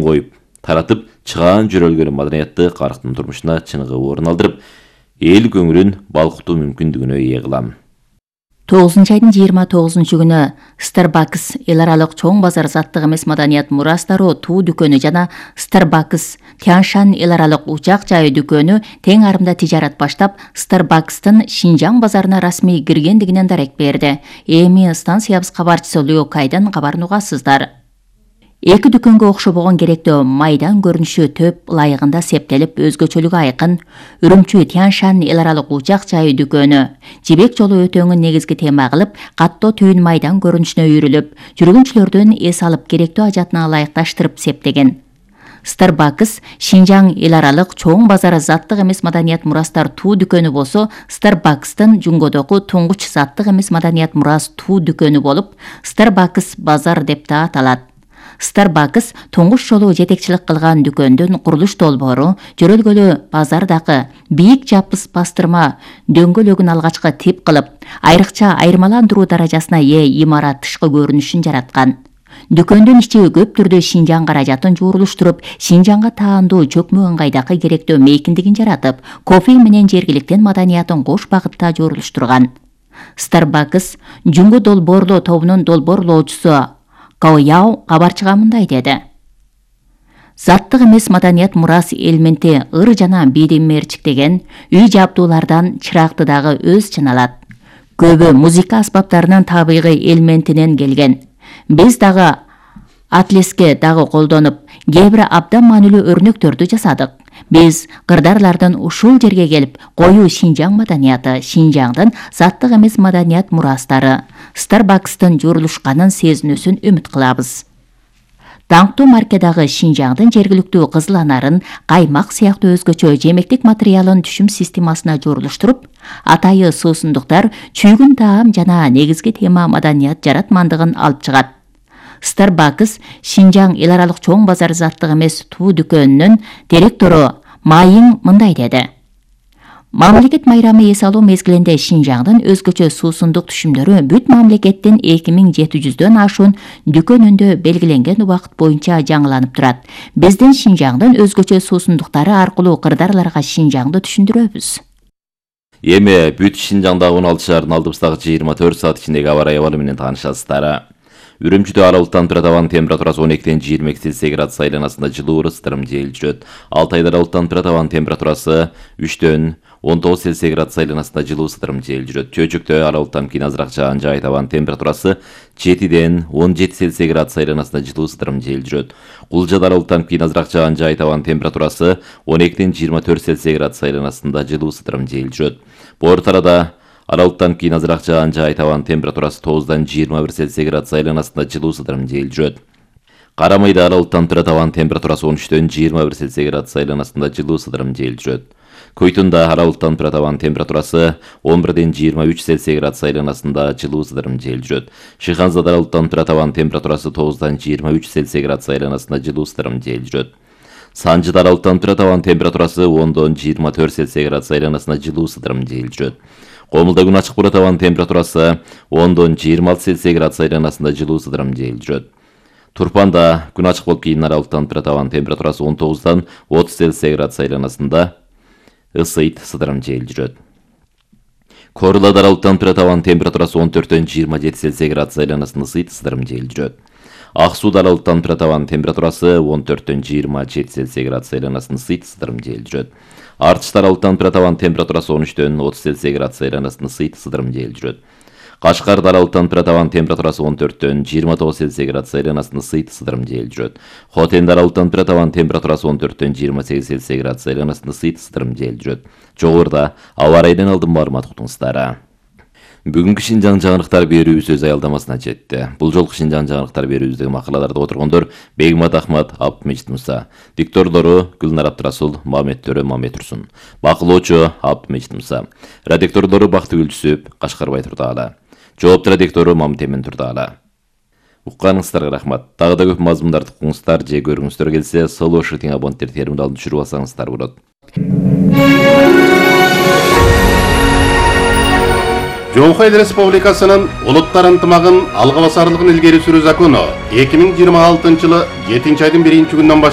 коюп, таратып чыгаан жүрөлгөн маданиятты карктын турмушуна чыныгы орун алдырып, эл көңүлүн балкытуу мүмкүндүгүнө ээ кылам. 9-айдын 29 күнү Starbucks эл аралык чоң базар заттык эмес маданият мурастары туу дүкөнү жана Starbucks Тяньшань эл аралык учак жай дүкөнү тең арымда тижарат баштап, Starbucks'тын Шинжаң базарына расмий киргендигинен дарек берди. Эми станциябыз кабарчысы Лю Кайдан кабарын угасыздар. Эки дүкөнгө окшобогон керектөө майдан көрүнүшү төп ылайыгында септелип, өзгөчөлүгү айкын. Үрүмчү Тяньшань эл аралык учак жай дүкөнү Жибек жолу өтөңүн негизги тема кылып, каттоо түйүн майдан көрүнүшүнө үйрүлүп, жүргүнчүлөрдөн эс алып керектөө ажатына ылайыкташтырып септеген. Starbucks Шинжаң эл аралык чоң базар заттык эмес маданият мурастар туу дүкөнү болсо, Starbucks'тын Жунгодогу туңгуч заттык эмес маданият мурас туу дүкөнү болуп, Starbucks базар деп да аталат. Starbucks туңгуч жолу жетекчилик кылган дүкөндүн курулуш долбоору жөрөлгөлү базардагы бийик жапыс бастырма дөңгөлөгүн алгачкы тип кылып, айрыкча айырмаландыруу даражасына ээ имарат тышкы көрүнүшүн жараткан. Дүкөндүн ичи көп түрдө Шинжаң каражатын жуурулуштуруп, Шинжаңга таандуу чөкмө ыңгайдагы керектөө мейкиндигин жаратып, кофе менен жергиликтен маданиятын кош багытта жуурулуштурган. Starbucks Жунгу долбоорлоо тобунун долбоорлоочусу Као Яо кабарчыга мындай деди. Заттык эмес маданият мурас элементи ыр жана бийдемерчиктеген үй жабдуулардан чыракты дагы өз чыналат. Көбү музыка аспаптарынын табигый элементинен келген. Биз дагы атлеске дагы колдонуп, кээ бир абдан маанилүү өрнөктөрдү жасадык. Биз кырдарлардын ушул жерге келип, коюу Шинжаң маданияты, Шинжаңдын заттык эмес маданият мурастары, Starbucks'тын жуурулушканын сезинүүсүн үмүт кылабыз. Даңктуу маркедагы Шинжаңдын жергиликтүү кызыл анарын, каймак сыяктуу өзгөчө жемектик материалын түшүм системасына жуурулуштуруп, атайы суусундуктар, чүйгүн таам жана негизги тема маданият жаратмандыгын алып чыгат. Starbucks Шинжаң эл аралык чоң базар заттык эмес туу дүкөнүнүн директору Майың мындай деди. Мамлекет майрамы эс алуу мезгилинде Шинжаңдын өзгөчө суусундук түшүмдөрү бүт мамлекеттин 2700дөн ашуун дүкөнүндө белгиленген убакыт боюнча жаңыланып турат. Биздин Шинжаңдын өзгөчө суусундуктары аркылуу кырдарларга Шинжаңды түшүндүрөбүз. Эми бүт Шинжаңдагы 16 шаардын алдыбыздагы 24 саат ичиндеги аба ырайы абалы менен таанышасыздар. Үрүмчүдө аралыктан турат абанын температурасы 12-ден 22 Цельсий градус айланасында жылуу ысытырым жел жүрөт. Алтайда аралыктан турат абанын температурасы 3-дөн 19 Цельсий градус айланасында жылуу ысытырым жел жүрөт. Чөйчөктө аралыктан кийин азыраак жаан жаайт, абанын температурасы 7-ден 17 Цельсий градус айланасында жылуу ысытырым жел жүрөт. Кулжада аралыктан кийин азыраак жаан жаайт, абанын температурасы 12-ден 24 Цельсий градус айланасында жылуу ысытырым жел жүрөт. Боор тарада аралыктан кийин азыраак жаан жаайт, абанын температурасы 9-дан 21 Цельсий градус айланасында жылуу ысытырым жел жүрөт. Карамайда аралыктан турат абанын температурасы 13-дөн 21 Цельсий градус айланасында жылуу ысытырым жел жүрөт. Көйтүндө аралыктан турат абанын температурасы 11-ден 23 Цельсий градус айланасында жылуу ысытырым жел жүрөт. Шыханзада аралыктан турат абанын температурасы 9-дан 23 Цельсий градус айланасында жылуу ысытырым жел жүрөт. Санжыда аралыктан турат абанын температурасы 10-дон 24 Цельсий градус айланасында жылуу ысытырым жел жүрөт. Комулда күн ачык болот, абанын температурасы 10-дон 26 Цельсий градус айланасында жылуу ысытырым жел жүрөт. Турпанда күн ачык болуп, кийин аралыктан турат, абанын температурасы 19-дан 30 Цельсий градус айланасында ысытырым жел жүрөт. Корлада аралыктан турат, абанын температурасы 14-дөн 27 Цельсий градус айланасында ысытырым жел жүрөт. Ак сууда аралыктан турат, абанын температурасы 14-дөн 27 Цельсий градус айланасында ысытырым жел жүрөт. Артышта аралыктан турат, абанын температурасы 13-дөн 30 Цельсий градус айланасында ысытырым жел жүрөт. Кашкарда аралыктан турат, абанын температурасы 14-дөн 29 Цельсий градус айланасында ысытырым жел жүрөт. Хотенде аралыктан турат, абанын температурасы 14-дөн 28 Цельсий градус айланасында ысытырым жел жүрөт. Жогоруда аба ырайынан алдын маалымат уктуңуздар. Бүгүнкү Шинжаң жаңылыктар берүүбүз өз аялдамасына жетти. Бул жолку Шинжаң жаңылыктар берүүбүздөгү макалаларда отургондор Бегмат Ахмат, Абдмежит Муса, диктордору Гүлнар Абдрасул, Мамет Төрө, Мамет Турсун, бакылоочу Абдмежит Муса, редактордору Бактыгүл Түсүп, Кашкарбай Турдаала, жоопту редактору Мамит Эмин Турдаала. Укканыңыздарга рахмат. Дагы да көп мазмундарды укуңуздар же көрүңүздөр келсе, Соло Шытың абоненттер терминалын түшүрүп алсаңыздар болот. Жоңхой Республикасынын улуттар ынтымагын алга басарлыгын илгери сүрүү закону 2026 жылы 7-айдын 1-күнүнөн